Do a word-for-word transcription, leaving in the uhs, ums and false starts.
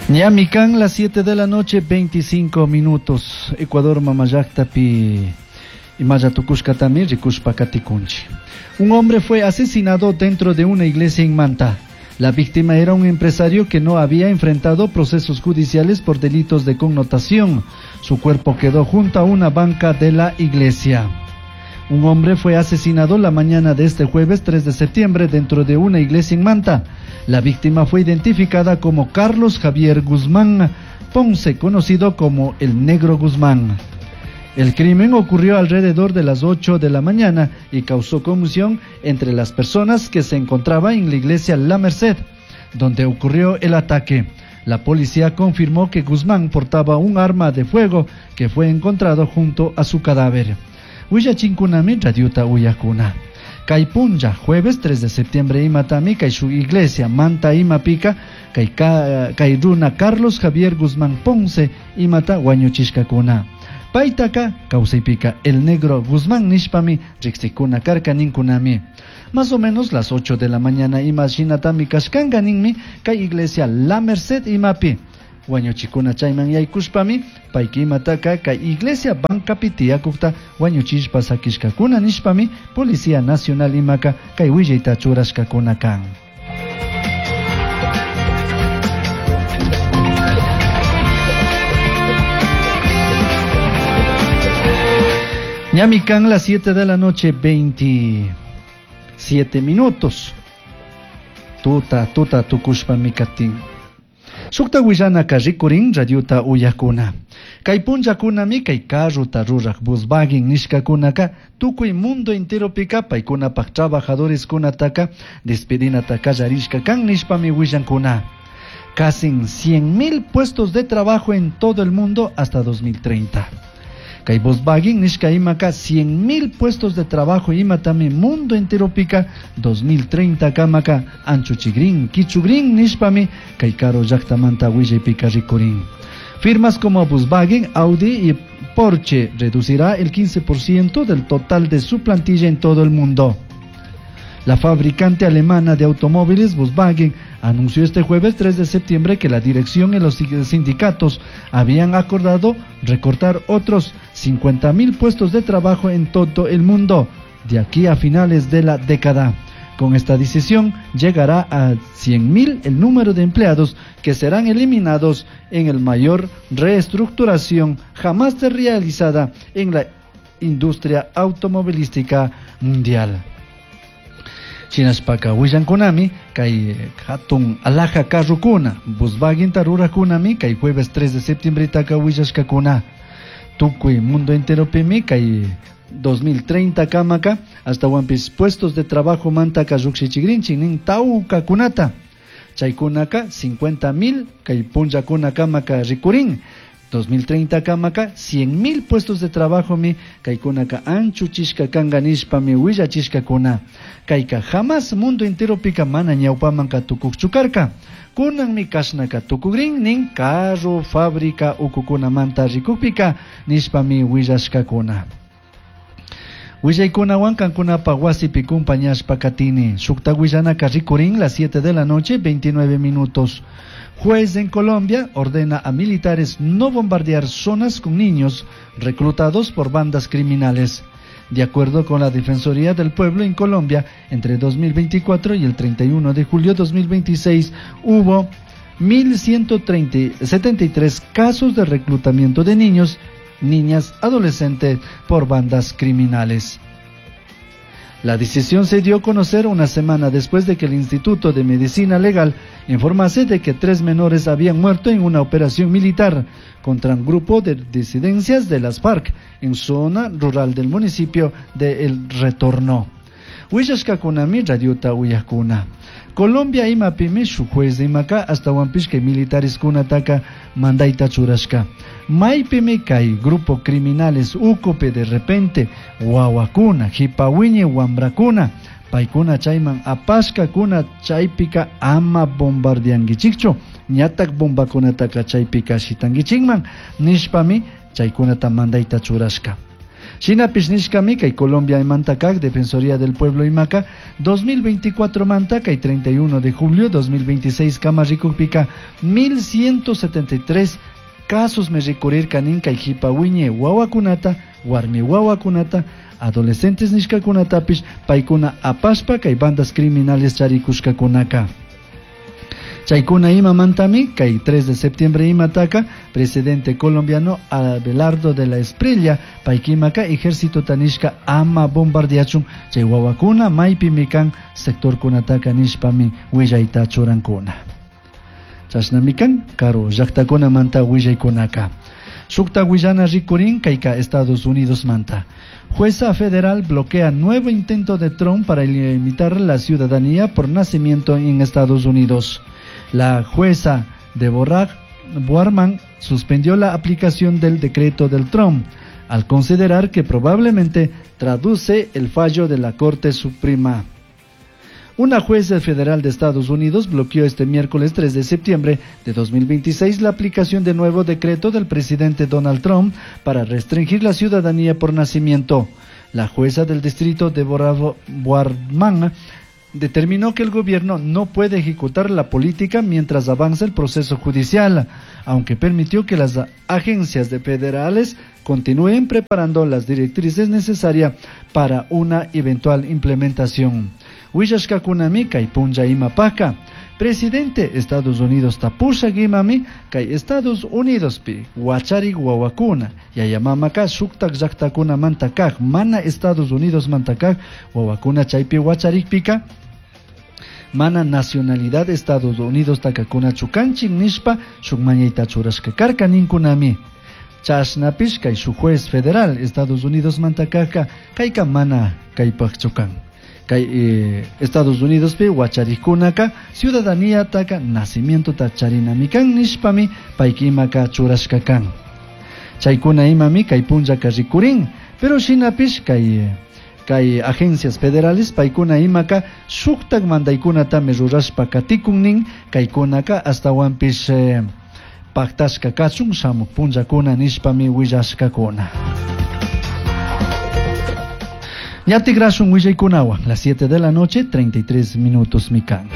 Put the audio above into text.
Ñami kan las siete de la noche, veinticinco minutos. Ecuador mamallaktapi imalla tukushkatami rikushpa katikunchi. Un hombre fue asesinado dentro de una iglesia en Manta. La víctima era un empresario que no había enfrentado procesos judiciales por delitos de connotación. Su cuerpo quedó junto a una banca de la iglesia. Un hombre fue asesinado la mañana de este jueves tres de septiembre dentro de una iglesia en Manta. La víctima fue identificada como Carlos Javier Guzmán Ponce, conocido como el Negro Guzmán. El crimen ocurrió alrededor de las ocho de la mañana y causó conmoción entre las personas que se encontraban en la iglesia La Merced, donde ocurrió el ataque. La policía confirmó que Guzmán portaba un arma de fuego que fue encontrado junto a su cadáver. Willachinkunami radiota uyakuna. Kay punlla, jueves tres de septiembre, imatami, kay su iglesia, Manta imapika, kay, kay runa Carlos Javier Guzmán Ponce, imata wañuchishkakuna. Paitaka, kawsaypika, el Negro Guzmán nishpami, riksikuna karka ninkunami. Más o menos las ocho de la mañana ima shinatami kashkanka ninmi, kay iglesia La Merced imapi. Wañuchikuna chayman yaykushpami, payki imataka kay iglesia bancapi tiyakukta wañuchishpa sakishkakuna nishpami, Policía Nacional imaka kay willayta churashkakuna kan. Ñami kan las siete de la noche, veintisiete minutos. Tuta, tuta, tukushpa mikatin. Sukta willanaka rikurin radiota uyakuna. Kay punllakunami kay carrota ruraj Volkswagen nishkakunaka tukuy mundo enteropika paykunapaj trabajadores kunataka despedinata kallarishka kan nishpami willankuna. Casi cien mil puestos de trabajo en todo el mundo hasta dos mil treinta. Kay Volkswagen nishka imaka cien mil puestos de trabajo imatami mundo entero pika dos mil treinta kamaka anchuchigrin, kichugrin nishpami kay karo llaktamanta willaypika rikurin. Firmas como Volkswagen, Audi y Porsche reducirá el quince por ciento del total de su plantilla en todo el mundo. La fabricante alemana de automóviles Volkswagen anunció este jueves tres de septiembre que la dirección y los sindicatos habían acordado recortar otros cincuenta mil puestos de trabajo en todo el mundo de aquí a finales de la década. Con esta decisión llegará a cien mil el número de empleados que serán eliminados en el mayor reestructuración jamás realizada en la industria automovilística mundial. Shinashpaka willankunami kay hatun alhaja carrukuna Volkswagen tarurakunami kay jueves tres de septiembre taka willashkakuna tukuy mundo enteropimi kay dos mil treinta kamaka hasta wampis puestos de trabajo mantaka llukshichigrinchik nin tawkakunata chaykunaka cincuenta mil kay punllakuna kamaka rikurin dos mil treinta kamaka cien mil puestos de trabajo mi kaykunaka anchuchishka kanka nishpami willachishkakuna kayka jamás mundo entero pika mana ñawpamanka tukuqchu karka kunanmi kashnaka tukugrin nin carro fábrica ukukunamanta rikukpika nishpami willashkakuna. Willaykunawan kankunapa wasipi kumpañashpa katini. Shukta willanaka rikurin las siete de la noche, veintinueve minutos. Juez en Colombia ordena a militares no bombardear zonas con niños reclutados por bandas criminales. De acuerdo con la Defensoría del Pueblo en Colombia, entre dos mil veinticuatro y el treinta y uno de julio de dos mil veintiséis hubo mil ciento setenta y tres casos de reclutamiento de niños, niñas, adolescentes por bandas criminales. La decisión se dio a conocer una semana después de que el Instituto de Medicina Legal informase de que tres menores habían muerto en una operación militar contra un grupo de disidencias de las FARC en zona rural del municipio de El Retorno. Willashkakunami radiota uyakuna. Colombia imapimi shu juez de imaka hasta wampishka militares kunataka mandaita churashka. Maipimi kay grupo criminales ukope de repente wawakuna, hipawiñe wambrakuna, paykuna chayman apashkakuna chaypika ama bombardeanguichikchu, ñatak bombakunataka chaypika shitanguichikman, nishpami chaykunata mandaita churashka. Shinapish nishkami kay Colombia imanta kak Defensoría del Pueblo imaka dos mil veinticuatro manta kay treinta y uno de julio dos mil veintiséis kama rikukpika mil ciento setenta y tres casos me rikurirka nin kay hipa wiñe wawakunata, warmi wawakunata, adolescentes nishkakunatapish paykuna apashpa kay bandas criminales charikushkakunaka. Chaykuna imamantami kay tres de septiembre imataka presidente colombiano Abelardo de la Espriella paykimaka ejército tanishka ama bombardeachun chay wawakuna maypimi kan sectorkunataka nishpami willayta churankuna. Chashnami kan karu llaqtakunamanta willaykunaka. Shukta willana rikurin kayka Estados Unidos manta. Jueza federal bloquea nuevo intento de Trump para limitar la ciudadanía por nacimiento en Estados Unidos. La jueza Deborah Boarman suspendió la aplicación del decreto del Trump al considerar que probablemente traduce el fallo de la Corte Suprema. Una jueza federal de Estados Unidos bloqueó este miércoles tres de septiembre de dos mil veintiséis la aplicación de nuevo decreto del presidente Donald Trump para restringir la ciudadanía por nacimiento. La jueza del distrito Deborah Boarman determinó que el gobierno no puede ejecutar la política mientras avanza el proceso judicial, aunque permitió que las agencias de federales continúen preparando las directrices necesarias para una eventual implementación. Willashkakunami kay punlla imapaka. Presidente Estados Unidos tapusha gimami kay Estados Unidos pi wachari wawakuna yayamamaka shuktak llaqtakuna mantakaj mana Estados Unidos mantakaj wawakuna chaypi wacharikpika mana nacionalidad Estados Unidos takakuna chukanchin nishpa shuk mañayta churashka karka ninkunami. Chashnapish kay shuk juez federal Estados Unidos mantakajka kayka mana kaypaj chukan. Kay eh, Estados Unidos pi wacharikunaka ciudadanía taka nacimiento ta charinamikan nishpami paykimaka churashka kan. Chaykuna imami kay punllaka rikurin, pero shinapish kay, kay agencias federales paykuna imaka shuktak mandaykunatami rurashpa katikun nin kaykunaka astawanpish eh, paktashka kachun shamuk punllakuna nishpami willashkakuna. Ñatigrasun willaykunawan, las siete de la noche, treinta y tres minutos mikan.